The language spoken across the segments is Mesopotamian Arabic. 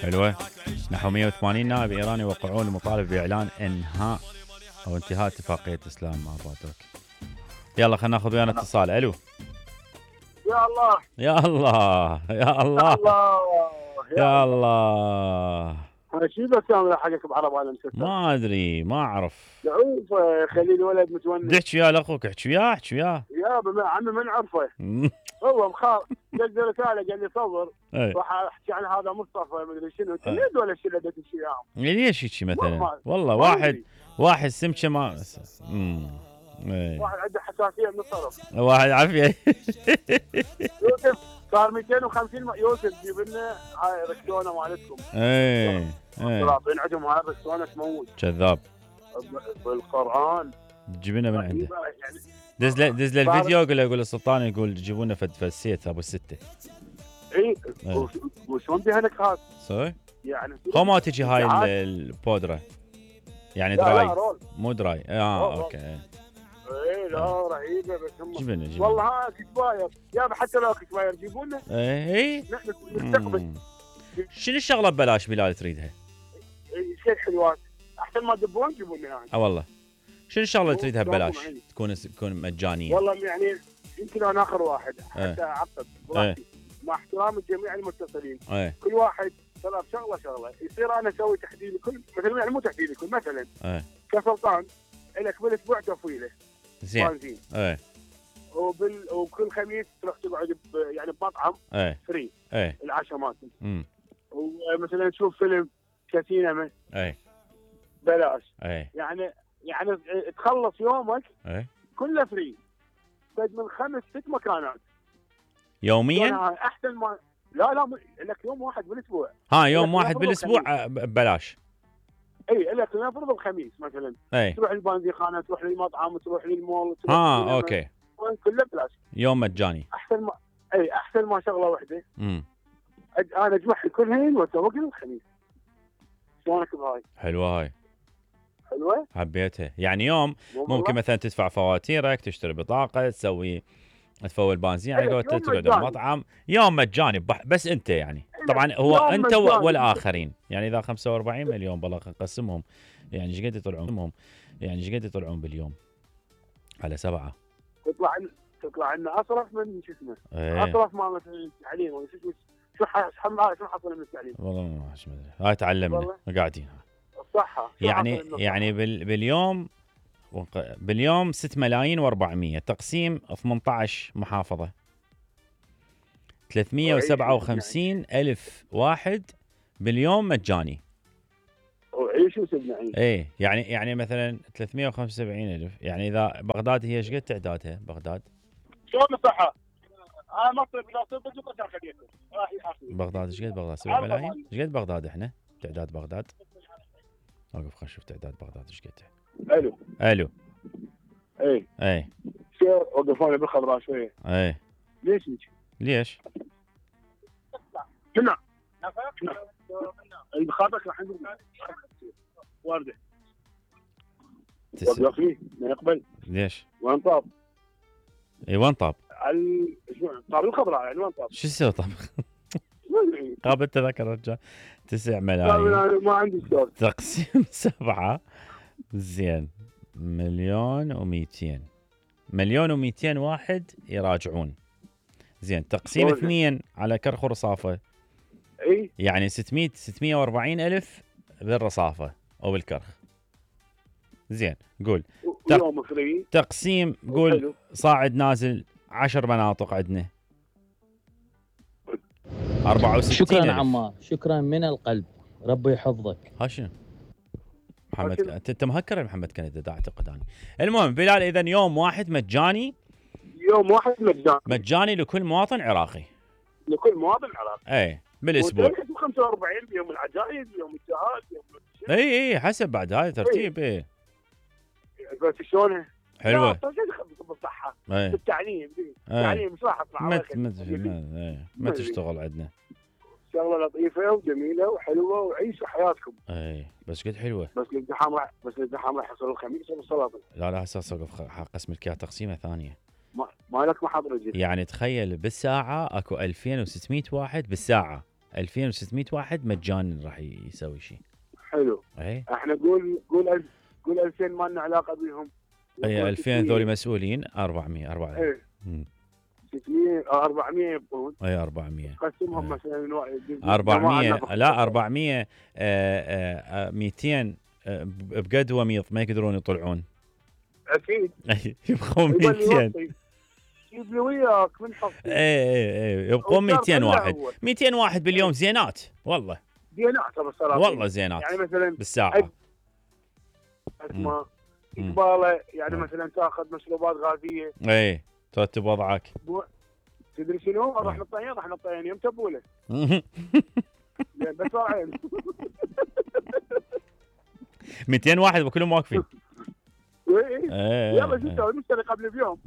حلوة. نحو 180 نائب إيراني يوقعون المطالب بإعلان إنهاء أو انتهاء اتفاقية إسلام مع تركيا. يلا خلينا ناخذ ويانا اتصال. ألو. يا الله يا الله يا الله يا الله. شو بس كامل حقك بعرب عالم ستة؟ ما أدري ما أعرف. دعوف خلي الولد متونس. احكي وياه لأخوك، احكي وياه احكي وياه. يا عمي ما نعرفه. هو مخاف دز رسالة قال لي صبر راح احكي عن هذا مصطفى مدري شنو تريد ولا شيء اللي تمشي وياهم. ليش هيك مثلا؟ والله واحد سمكه ما واحد عنده حساسية من الصرف. واحد عافية. يوسف صار 250 يوسف جيب لنا هاي ركتونه مالتكم. طلعين عندهم هاي الركتونه تموت. كذاب. بالقرآن. تجيب لنا من عنده. دز له الفيديو يقول السلطان يقول جيبوا لنا فسيت ابو الستة. اي وشلون بهنك هذا؟ صحيح. يعني هو ما تجي هاي البودرة يعني دراي مو دراي. اوكي. ايه لا رهيبه بس هم جبنا والله ها كسباير يا حتى لو كسباير جيبوا لنا. اي نحن نستقبل. شنو الشغله ببلاش بلال تريدها؟ شيء حلوات احسن ما تدبون جيبوا لنا يعني. والله شنو الشغله اللي تريدها ببلاش تكون مجانيه؟ والله يعني يمكن انا اخر واحد حتى اعقد مع احترام جميع المتصلين. كل واحد طلب شغله يصير انا اسوي تحديد لكل مثلا يعني مو تحديد لكل مثلا كسلطان لك بالاسبوع تفويله زين. وكل خميس تروح تقعد يعني بمطعم فري العشاء مالتهم. ومثلا تشوف فيلم كسينما بلاش. يعني تخلص يومك كله فري من 5-6 مكانات يوميا. احسن ما لا لك يوم واحد بالاسبوع. يوم واحد بالاسبوع ببلاش. اي لك نفرض الخميس مثلا تروح البنزيخانه تروح للمطعم تروح للمول تروح اوكي كله بلاش يوم مجاني. احسن ما شغله واحده. انا اجمعهم كلهن واسوق الخميس. شلونك بهاي؟ حلوه هاي. حلوه حبيتها. يعني يوم ممكن مثلا تدفع فواتيرك تشتري بطاقه تفول بنزين على قولتك تقعد بمطعم يوم مجاني بس انت يعني طبعا هو انت والاخرين يعني اذا 45 مليون بالله نقسمهم يعني ايش قد يطلعون باليوم على 7 تطلع لنا اصرف من شو اسمه اصرف ما مثلا التعليم ولا شو حصل من التعليم والله ما ادري. هاي تعلمنا قاعدين الصحه يعني باليوم 6 ملايين و400 تقسيم 18 محافظة 357 ألف واحد باليوم مجاني. وعيشوا سبنا يعني مثلا 375 ألف يعني إذا بغداد هي ايش قد تعدادها بغداد؟ شلون الصحة؟ مصر بلا صدق بغداد ايش قد بغداد 7 ملايين؟ ايش قد بغداد احنا؟ تعداد بغداد؟ وقف خلينا نشوف تعداد بغداد ايش قد. الو اي شو وقفوني بالخضراء شويه. ليش؟ كنا البخاتك راح نقول وارده وقفني ما يقبل. ليش؟ وين طاب؟ وين طاب؟ طاب الخضراء يعني وين طاب؟ شو يسوي طاب؟ قابل تذكر رجال 9 ملايين ما عندي شغل تقسيم 7 زين 1,200,000 واحد يراجعون. زين تقسيم 2 على كرخ ورصافة يعني 640 ألف بالرصافة أو بالكرخ. زين قول تقسيم قول صاعد نازل 10 مناطق عندنا 64. شكرا عمار شكرا من القلب ربي يحفظك. ها شنو محمد انت مهكر يا محمد كندا اعتقد انا. المهم بلال اذا يوم واحد مجاني لكل مواطن عراقي بالاسبوع 45 بيوم العجائز بيوم الجهاد بيوم اي حسب بعد هاي ترتيب بس شلونه حلوه بالصحه بالتعليم التعليم مش راح اطلع ما تشتغل عندنا شغله لطيفه وجميله وحلوه وعيشوا حياتكم. بس قد حلوه بس الازدحام راح يحصل الخميس والسلاطين. لا هسه صقف قسم لك اياها تقسيمه ثانيه ما لك محاضره جديده يعني تخيل بالساعه اكو 2600 واحد بالساعه 2600 واحد مجانا راح يسوي شيء. حلو. اي احنا قول 2000 ما لنا علاقه بهم. اي 2000 ذولي مسؤولين. 400 ايه 600 أو 400 يبقون. اي 400 قسمهم مثلا 400 لا 400 200 بقد وميض ما يقدرون يطلعون. اكيد يبقون 200. جيب لي وياك من حقي. اي يبقون 200 واحد. 200 واحد باليوم زينات والله. زينات بصراحه والله زينات يعني مثلا بالساعه. اسمع اقباله يعني مثلا تاخذ مشروبات غازيه. اي ترتب وضعك. تدري شنو؟ راح نطين يوم تبوله. بس راعين 200 واحد وكلهم واقفين. يلا شو نسوي؟ نشتري قبل بيوم.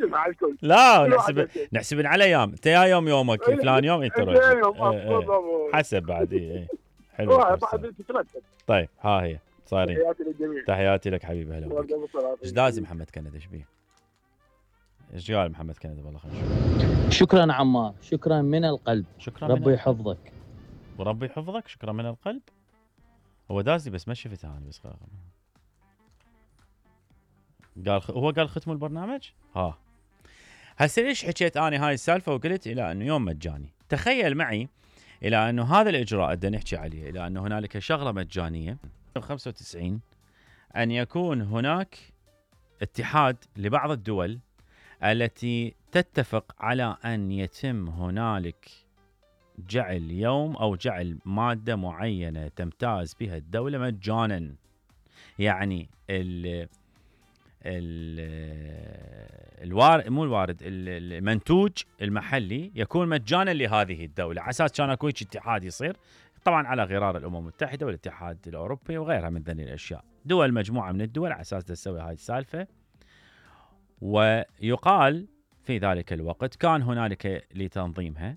مع الكل. لا نحسب على ايام. انت يا يومك فلان يوم انت حسب بعد. اي حلو بعد تترتب. طيب ها هي صايرين. تحياتي للجميع. تحياتي لك حبيبي. هلا ايش داز محمد كندا ايش بيه؟ ايش قال محمد كندا؟ والله خير. شكرا عمار، شكرا من القلب. شكرا ربي يحفظك. وربي يحفظك. شكرا من القلب. هو دازي بس ما شفته انا بس قال هو قال ختموا البرنامج. ها هسه ليش حكيت انا هاي السالفه وقلت الى انه يوم مجاني؟ تخيل معي الى انه هذا الاجراء بدنا نحكي عليه، الى انه هنالك شغله مجانيه 95 ان يكون هناك اتحاد لبعض الدول التي تتفق على ان يتم هنالك جعل يوم او جعل ماده معينه تمتاز بها الدوله مجانا. يعني المنتوج المحلي يكون مجانا لهذه الدوله، على اساس كان اكو اتحاد يصير طبعا على غرار الامم المتحده والاتحاد الاوروبي وغيرها من ذني الاشياء. دول مجموعه من الدول على اساس تسوي هاي السالفه. ويقال في ذلك الوقت كان هنالك لتنظيمها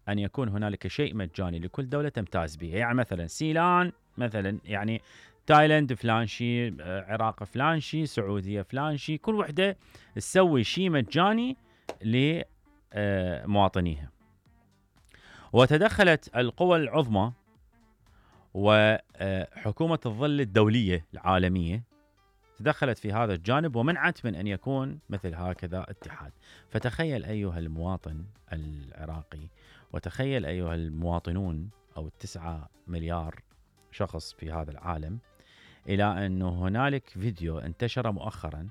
ان يكون هنالك شيء مجاني لكل دوله تمتاز به. يعني مثلا سيلان مثلا، يعني تايلاند فلان شيء، عراق فلان شيء، سعوديه فلان شيء، كل وحده تسوي شيء مجاني لمواطنيها. وتدخلت القوى العظمى وحكومه الظل الدوليه العالميه تدخلت في هذا الجانب ومنعت من ان يكون مثل هكذا اتحاد. فتخيل ايها المواطن العراقي، وتخيل ايها المواطنون او 9 مليار شخص في هذا العالم، الى انه هنالك فيديو انتشر مؤخرا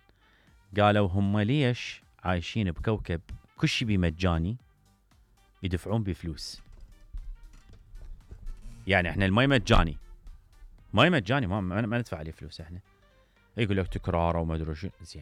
قالوا هم ليش عايشين بكوكب كل شيء بمجاني يدفعون بفلوس. يعني احنا المي مجاني ما ندفع عليه فلوس احنا. يقول لك تكرار وما ادري شو. زين